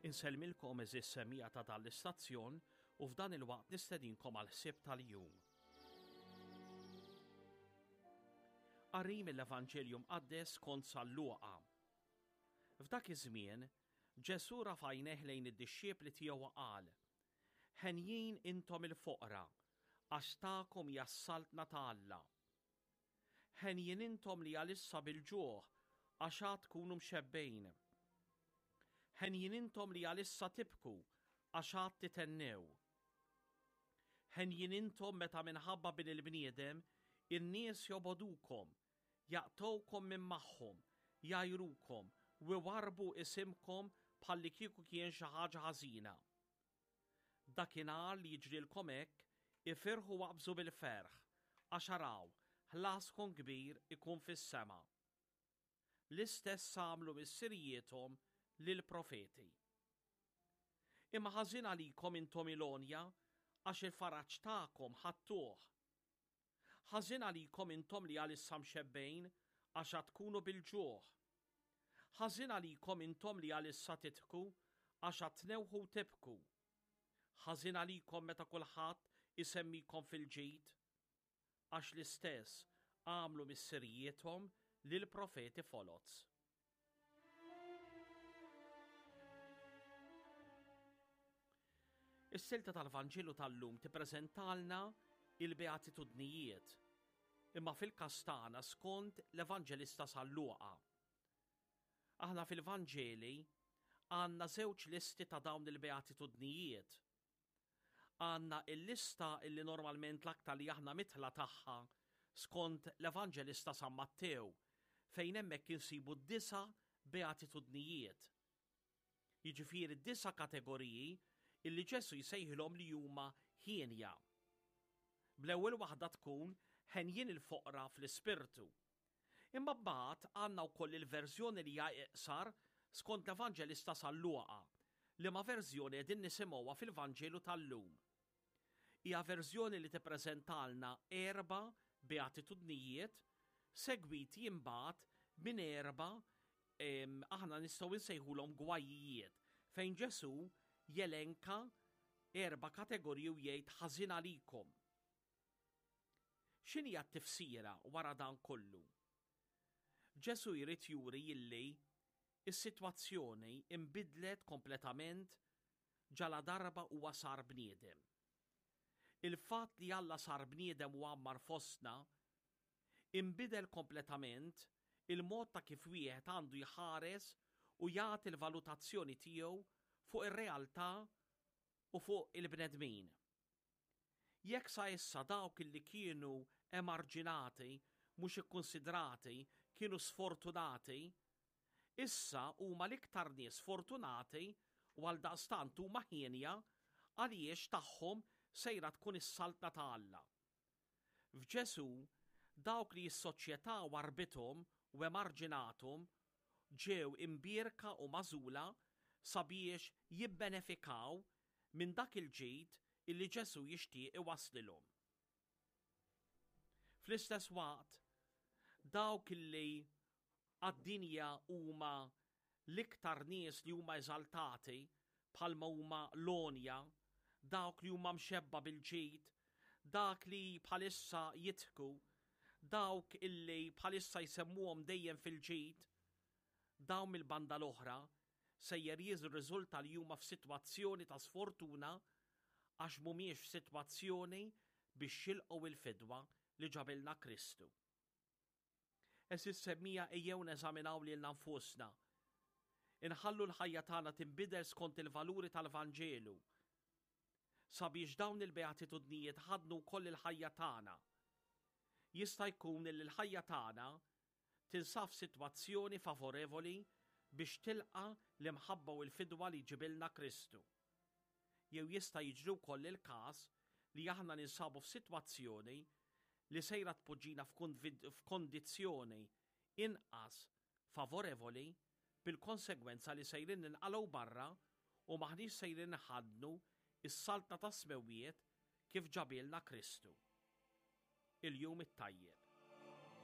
Insellmilkom eżis semija ta' dan l-istazzjon u f'dan il-waqt nistedinkom għal ħsieb tal-jum. Qari mill-Evanġelju Mqaddes skont San Luqa. F'dak iż-żmien, Ġesù rafa' għajnejh lejn id-dixxipli tiegħu u qal, Henjin intom il-foqra, għax tagħkom hija s-saltna ta' Alla. Henjin intom li għalissa bil-ġuħ, għax għad tkunu mxebbgħin. Henjin intom li għalissa tibku, għax għad tithennew. Henjin intom meta minħabba bin il-bniedem in-nies jobogħdukom, jaqtgħukom minn magħhom, jgħajrukom, u iwarrbu isimkom bħallikieku kien xi ħaġa ħażina. Dakinhar li jiġrilkom hekk, ifirħu u aqbżu bil-ferħ, għax araw, ħlaskom kbir ikun fis-sema. L-istess għamlu missirijiethom lill-profeti. Imma ħażin għalikom intom il-għonja, għax il-faraġ tagħkom ħadtuh. Ħażin għalikom intom li għalissa mxebbgħin, għax għad tkunu bil-ġuħ. Ħażin għalikom intom li għalissa tidħku, għax għad tnewħu u tibku. Ħażin għalikom meta kulħadd isemmikom fil-ġid, għax l-istess għamlu missirijiethom lill-profeti foloz. Is-silta tal-Vanġelu tal-lum tippreżentalna il-beatitudnijiet, imma fil-każ tagħna skont l-Evanġelista San Luqa. Aħna fil-Vanġeli għandna żewġ listi ta' dawn il-beatitudnijiet. Għandna il-lista illi normalment l-aktar li aħna mitħla tagħha skont l-Evanġelista San Mattew, fejn hemmhekk insibu disa' beatitudnijiet. Jiġifieri disa' kategoriji illi Ġesù jsejħilhom li huma hienja. Bl-ewwel waħda tkun henjin il-foqra fl-ispirtu. Imma mbagħad għandna wkoll il-verżjoni li hija iqsar skont l-Evanġelista San Luqa, liema verżjoni qegħdin nisimgħuha fil-Vanġelu tal-lum. Hija verżjoni li tippreżentalna erba' beatitudnijiet segwiti imbagħad minn erba' aħna nistgħu nsejħulhom gwajijiet fejn Ġesù jelenka erba' kategoriji u jgħid ħażin għalikom. X'inhija t-tifsira wara dan kollu? Ġesù jrid juri illi s-sitwazzjoni nbidlet kompletament ġaladarba huwa sar bniedem. Il-fatt li Alla sar bniedem u għammar fostna, inbidel kompletament il-mod ta' kif wieħed għandu jħares u jagħti l-valutazzjoni tiegħu fuq ir-realtà u fuq il-bnedmin. Jekk sa issa dawk li kienu emarġinati, mhux ikkunsidrati, kienu sfortunati, issa huma l-iktar nies fortunati u għaldaqstant huma hienja għaliex tagħhom sejra tkun is-Saltna ta' Alla. F'Ġesù, dawk li s-soċjetà warrbithom u emarġinathom ġew imbierka u magħżula sabiex jibbenefikaw minn dak il-ġid illi Ġesù jixtieq iwasslilhom. Fl-istess waqt, dawk illi għad-dinja huma l-iktar nies li huma eżaltati bħalma huma l-għonja, dawk li huma mxebba bil-ġid, dak li bħalissa jidħku, dawk illi bħalissa jsemmuhom dejjem fil-ġid, dawn mill-banda l-oħra sejjer jirriżulta li huma f'sitwazzjoni ta' sfortuna għax mhumiex f'sitwazzjoni biex jilqgħu il-fidwa li ġabilna Kristu. Għeżież semmija ejjew neżaminaw lilna nfusna. Inħallu l-ħajja tagħna tinbidel skont il-valuri tal-Vanġelu sabiex dawn il-beatitudnijiet ħaddnu wkoll il-ħajja tagħna. Jista' jkun li l-ħajja tagħna tinsab f'sitwazzjoni favorevoli biex tilqa' l-imħabba u l-fidwa li jġibilna Kristu. Jew jista' jiġri wkoll il-każ li aħna ninsabu f'sitwazzjoni li sejra tpoġġina f'kondizzjoni inqas favorevoli bil-konsegwenza li sejrin ninqalgħu barra u m'aħniex sejrin inħaddnu s-Saltna tas-Smewwiet kif ġabielna Kristu. Il-Jum it-Tajjeb.